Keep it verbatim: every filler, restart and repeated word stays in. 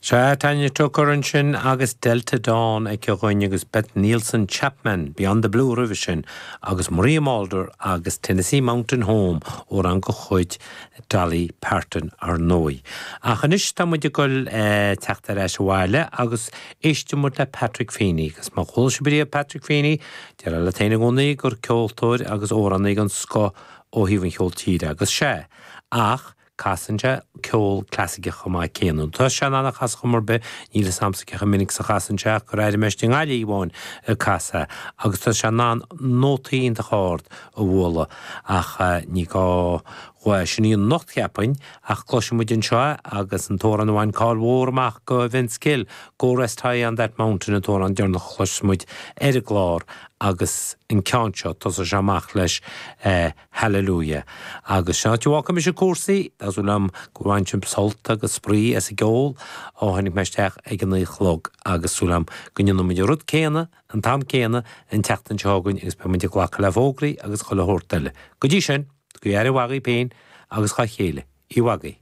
Sea Tanya Tucker ansin agus Delta Dawn aici dhúinn agus Beth Nielsen Chapman Beyond the Blue roimhe sin agus Maria Muldaur agus Tennessee Mountain Home amhrán de chuid Dolly Parton ar ndóigh. Ach anois tá muid ag dul eh, teacht ar ais abhaile agus éistfidh muid le Patrick Feeney, agus má chuala sibh riamh Patrick Feeney, deir le tain gcónaí gur ceoltóir agus amhránaí den scoth ó thaobh an cheoil tíre agus sé. Ach casann sé ceol clasaiceach chomh maith céanna. Tá sé anna chas chumar be níle samsa a minic sa chasan se gur airmeist in gáilíháin a casa agus tá sé ná nótaí iontach ard a bhualadh ach eh, ní gá sin í an nocht cheapainn ach cloisfidh muid anseo agus an t-amhrán a bhain cáil mhór amach do Vince Gill Go Rest High on that mountain an t-amhrán deireanach a chloisfidh muid ar an gclár agus an ceann seo tosaíonn sé amach leis eh, Hallelujah. Agus se tuá se cúrsaí liom go bhain sibh sult agus spraoi as an gceol ó tháinig mé isteach ag an naoi a chlog agus súil agam go ndéanfaidh muid an rud céanna an t-am céanna an tseachtain seo chugainn agus beidh muid ag glacadh le fógraí agus chuile shórt eile. Go dtí sin, go aire mhaith dhaoibh féin agus dá chéile, i bhfagaí.